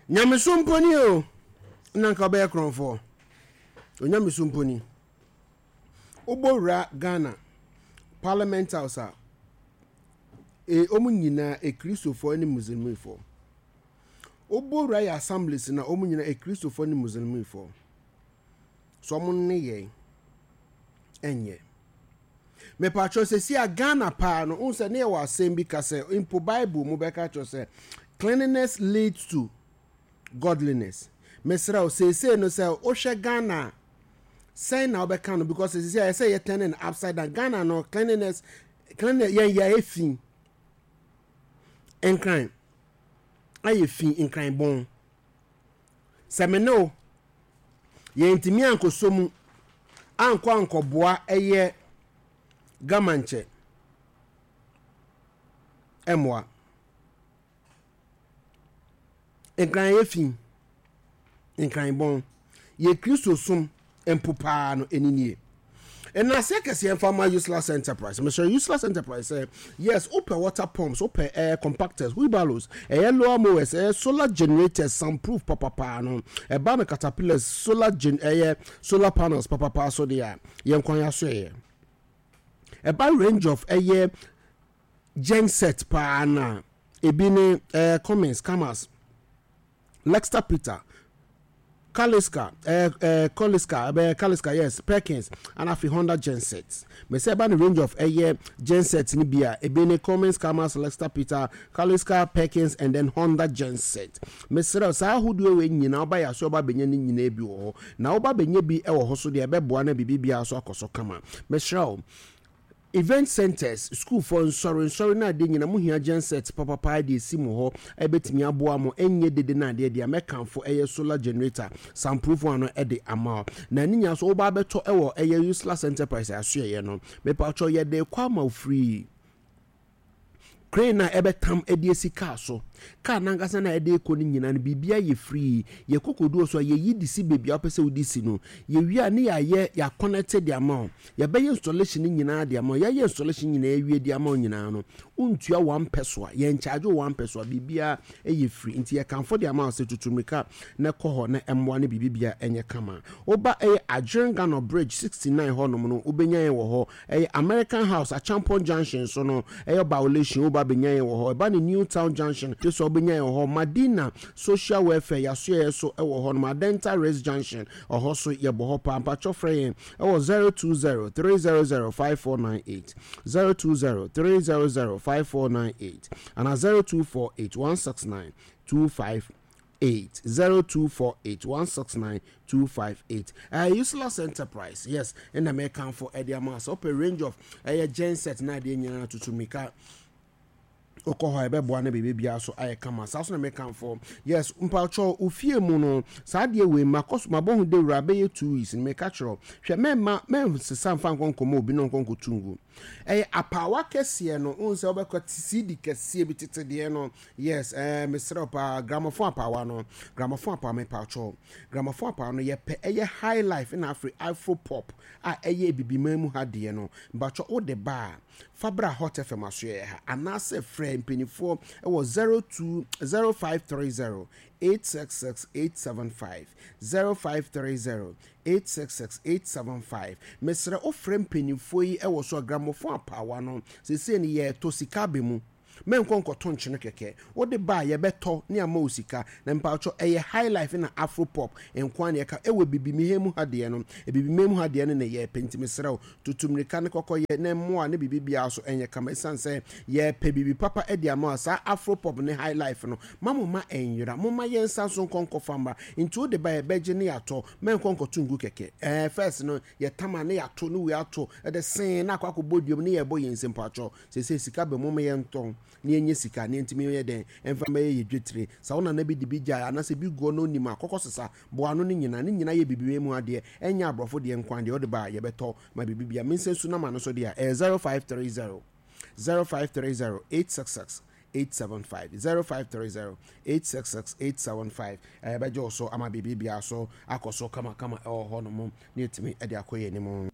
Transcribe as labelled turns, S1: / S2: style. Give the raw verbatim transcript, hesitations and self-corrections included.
S1: Nyamesom mpo ni o, na nka wobɛyɛ korɔmfoɔ. Onyamesom mpo ni. Wobɔ wura Ghana Parliament House a, e, wɔn nyinaa Akristofoɔ ne Muslimifoɔ. Wobɔ wura yɛ assemblies na wɔn nyinaa Akristofoɔ ne Muslimifoɔ. So wɔn nneyɛe ɛnyɛ. Mepatwɔ sɛsi a Ghana paa no, wohu sɛ ne yɛwɔ asɛm bi ka sɛ mpo Bible mu bɛka kyerɛ sɛ cleanliness leads to godliness. Mesrɛ wo seesei no sɛ wohwɛ Ghana a sɛn na wobɛka no because seesei a ɛsɛ yɛ turning upside down. Ghana no cleanliness cleanliness yɛn yɛ fi nkran ayɛ fi nkran bɔn. Sɛ me ne wo yɛntumi ankɔsɔ mu ankɔ ankɔboa ɛyɛ gamankyɛ ɛmmoa. Nkran yɛ fi, nkran bɔn. Yɛ Kristo som mpo paa no ɛni nie. Nnaseɛ kɛseɛ mfa ma Useless Enterprise. Mesrɛ Useless Enterprise sɛ yes, wopɛ water pumps, wopɛ air compactors, wheelbarrows, ɛyɛ lower mowers, ɛyɛ solar generators, soundproof papapaa no, ɛba no caterpillars, solar gen, ɛyɛ solar panels papapaa so deɛ a, yɛn kwan aso ɛyɛ. Ɛba range of ɛyɛ genset paa na ebi ne ɛɛ Cummins, Camas, Lexter Peter, Kaliska, eh, eh, Koliska, eh, Kaliska, yes, Perkins, and afei Honda genset. Me sɛ ɛba ne range of ɛyɛ genset ni bi a, ebi ne Cummins, Camas, Lexter Peter, Kaliska, Perkins, and then Honda genset. Mesrɛ saa ahodoɔ wei nyinaa ɔba yɛ aso ɔba bɛnya ne nyinaa bi wɔ hɔ. Na ɔba bɛnya bi wɔ hɔ so deɛ ɛbɛboa na biribi biara so akɔ so kama. Mesrɛ wo, event centers, sukuufoɔ nsɔre nsɔre no adeɛ nyina mo hia genset papapa de esi mo hɔ ɛbɛtumi aboa mo ɛnyɛ dede no adeɛ deɛ mɛkamfo ɛyɛ solar generator soundproof one no ɛde ama wo na ne nyinaa so woba abɛtɔ ɛwɔ ɛyɛ Useless Enterprise asoɛyɛ no mepatwɔ yɛde kɔ ama wo free crane a ɛbɛtam de asi kaa so kaa nankasa na ɛde kɔ no nyinaa no biribi ayɛ free yɛ kokoduo so a yɛyi de si baabi a wopɛ sɛ wode si no yɛwie a ne yɛayɛ yɛakɔnɛte de ama wo yɛbɛyɛ installation no nyinaa de ama wo yɛayɛ installation nyinaa awie de ama wo nyinaa no wontua one pɛ so a yɛnkyagye wo one pɛ so a biribiara ɛyɛ free nti yɛkamfo de ama wo sɛ tutu mmirika na ɛkɔ hɔ na ɛmmoa no biribi bia ɛnyɛ kama woba ɛyɛ Adjiringanor Bridge sixty-nine hɔnom no wobɛnya yɛn wɔ hɔ ɛyɛ American House Achampon Junction so no ɛyɛ Violation woba bɛnya yɛn wɔ hɔ ɛba ne New Town Junction so wobɛnya yɛn wɔ hɔ Madina Social Welfare yɛasoɛyɛ so ɛwɔ hɔ nom Adenta Race Junction ɔhɔ so yɛbɔ hɔ paa mpatwɔ frɛ yɛn ɛwɔ zero two zero three zero zero five four nine eight, zero two zero three zero zero five four nine eight ana zero two four eight one six nine two five eight, zero two four eight one six nine two five eight. uh, Useless Enterprise, yes, ɛna mɛkamfo ɛde ama sɛ wopɛ range of ɛyɛ genset na adeɛ nyinaa tutu mmirika wokɔ hɔ a ɛbɛboa no biribi biara so ayɛ kama. Saa so na mekamfo, yes, mpatwɔ ofie mu no saa adeɛ wei makɔ so mabɔ ho dawura bɛyɛ two weeks no meka kyerɛ hwɛ mɛma mɛnsesa mfa nkɔ nkɔmmɔ obi na ɔnkɔ nkɔtu ngu ɛyɛ apaawa kɛseɛ no wohu sɛ wobɛkɔ C D kɛseɛ bi tete deɛ no, yes, ɛɛ mesrɛ wo paa, gramophone apaawa no, gramophone apaawa, mepatwɔ gramophone apaawa no yɛpɛ ɛyɛ high life na afei afro pop a ɛyɛ ebibiman mu ha deɛ no. Mpatwɔ wode ba a fa bra Hot F M asoɛ ha anaasɛ frɛ mpanimfoɔ ɛwɔ zero two zero five three zero eight six six eight seven five, zero five three zero eight six six eight seven five. Mesrɛ wofrɛ mpanimfoɔ yi ɛwɔ so a gramophone apaawa no seesei no yɛɛtɔ sika abɛ mu mɛnkɔ nkɔto nkyene kɛkɛ wode ba a yɛbɛtɔ ne ama wo sika na mpatwɔ ɛyɛ high life na afro pop nko a ne yɛka ɛwɔ bibimihɛ mu ha deɛ no ebibimɛ mu ha deɛ no na yɛpɛ nti mesrɛ wo tutu mmirika ne kɔkɔyɛ na mmoa ne biribi biara so ɛnyɛ kama ɛsiane sɛ yɛpɛ biribi papa de ama wo saa afro pop ne high life no ma mo ma ɛnyera mo ma yɛnsa so nkɔ nkɔfa mmra nti wode ba yɛbɛgye ne yɛatɔ mɛnkɔ nkɔto ngu kɛkɛ. Ɛɛ first no yɛtama ne yɛato ne wei ato ɛde sen na akɔ akɔbɔ duam ne yɛbɔ yɛn nsam patwɔ sɛsɛ sika bɛ mo ma yɛntɔn ne yɛnyɛ sika ne yɛntumi yɛ dɛn ɛmfa mɛyɛ yɛ dwetire sa wo nana bi de bi gyae anaasɛ bi guɔ no onim a kɔkɔ sesa boa no ne nyinaa ne nyinaa yɛ biribi mu adeɛ ɛnyɛ aborɔfo deɛ nkwan deɛ wode ba a yɛbɛtɔ ma biribi bia me nsɛ nsu nama no so deɛ a ɛyɛ zero five three zero zero five three zero eight six six eight seven five, zero five three zero eight six six eight seven five. Ɛbɛgye wo so ama biribi biara so akɔ so kamakama ɛwɔ hɔ nom ne yɛtumi de akɔ yɛ anim.